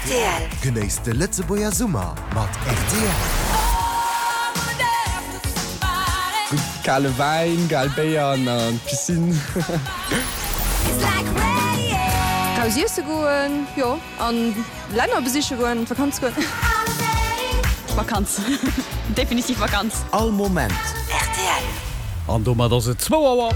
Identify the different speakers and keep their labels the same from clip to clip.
Speaker 1: Rtl. Genéisst de Lëtzebuerger Summer mat rtl.
Speaker 2: Gutt kale Wäin, gal Béier an an d'Piscine.
Speaker 3: Raus iesse goen, jo, an Länner besiche goen, an d'Vakanz goen.
Speaker 4: Vakanz, definitiv Vakanz.
Speaker 1: All Moment. Rtl.
Speaker 5: An domat ass et zwou Auer.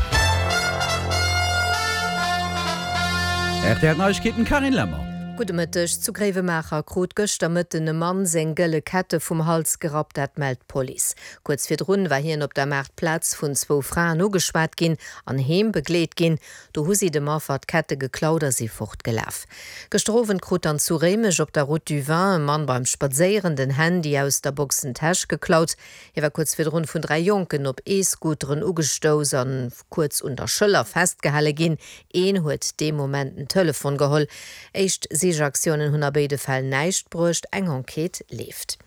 Speaker 5: Rtl Neiegkeeten, Carine Lemmer.
Speaker 6: Gudde Mëtteg. Zu Gréiwemaacher krut gëschter Mëtten e Mann seng gëlle Kette vum Hals gerappt, dat mellt d'Police. Kuerz virdrun war hien op der Maartplaz vun zwou Fraen ugeschwat ginn an heem begleet ginn. Do hu si dem Affer d'Kette geklaut a si fortgelaf. Gëschter Owend krut dann zu Réimech op der Route du Vin e Mann beim Spadséieren den Handy aus der Boxentäsch geklaut. Hie war kuerz virdrun vun 3 Jonken op E-Scooteren ugestouss a kuerz un der Schëller festgehale ginn. Een huet dee Moment den Telefon geholl. Éischt Sichaktiounen hunn a béide Fäll näischt bruecht, eng Enquête leeft.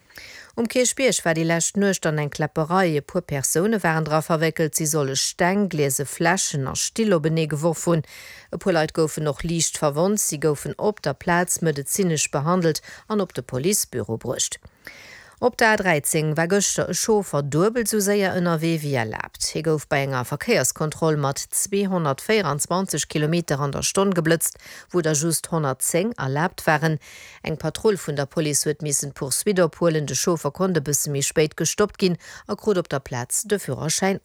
Speaker 6: Um Kierchbierg war déi lescht Nuecht dann eng Kläpperei. E puer Persoune waren dra verwéckelt. Si solle Steng, gliese Fläschen a Still openee geworf hunn. E puer Leit goufen och liicht verwonnt. Si goufen op der Plaz medezinesch behandelt an op de Policebüro bruecht. Op der A13 war gëschter e Chauffer duebel sou séier ënnerwee wéi erlaabt. Hie gouf bei enger Verkéierskontroll mat 224 Kilometer an der Stonn geblëtzt, wou der just 110 erlaabt waren. Eng Patrull vun der Police huet missen d'Poursuite ophuelen. De Chauffer konnt e bësse méi spéit gestoppt ginn a krut op der Plaz de Führerschäin of.